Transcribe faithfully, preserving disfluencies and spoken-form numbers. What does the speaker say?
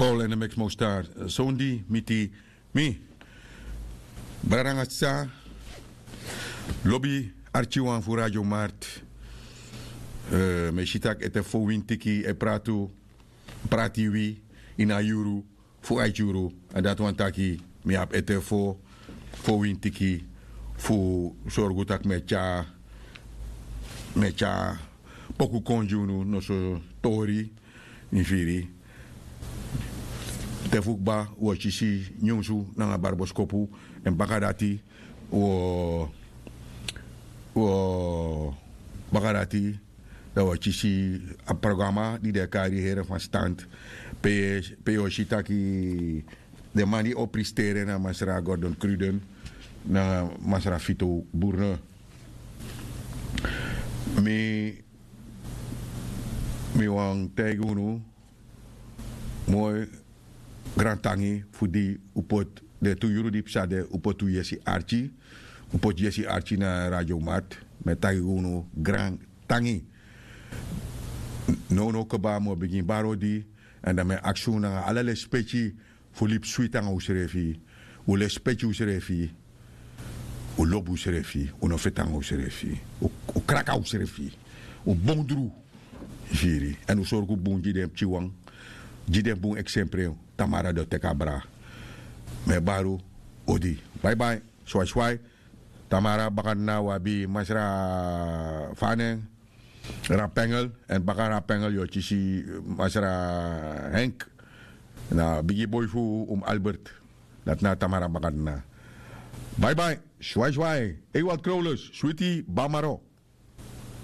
Ol en de mix mostar. Sondi miti mi. Brada nanga sisa, lobi arkiwan fu Radio Mart. Mi e si tak' ete fo wintiki e prati wi ini a yuru fu a yuru. Èn dati wani taki mi abi ete fo fo wintiki fu sorgu tak' mi e tyari mi e tyari poku kon gi unu noso tori. Yu firi? Te fu kba wi o kisi nyunsu nanga barboskopu. Èn baka dati wi o wi o baka dati dan wi o kisi a programa di den e kari here fan stand. Pe yu o si taki den man di o pristeri en na masra Gordon Cruden nanga masra Fito Burne. Mi mi wani taigi unu moi grantangi fu di un poti den tu yuru di psa de un poti un yesi arki. Un poti yesi arki na Radio Mart. Mi e taigi unu grantangi. Nownow kba mi o bigin bari odi. Èn dan mi e aksi unu nanga ala lespeki fu libi switi nanga unsrefi. Un lespeki unsrefi. Un lobi unsrefi. Un no feti nanga unsrefi. Un kraka unsrefi. Un bondru. Yu firi? Èn un sorgu bun gi den pikinwan. Gi den bun eksempre. Tamara den o teki abra. Mi e bari un odi. Baibai. Swai swai. Tamara bakadina un abi masra fanen rapengel. Èn baka rapengel yu o kisi masra henk na bigi boi fu un albert. Dati na tamara bakadina. Baibai. Swai swai. Ei wat krowlus switi bamaro.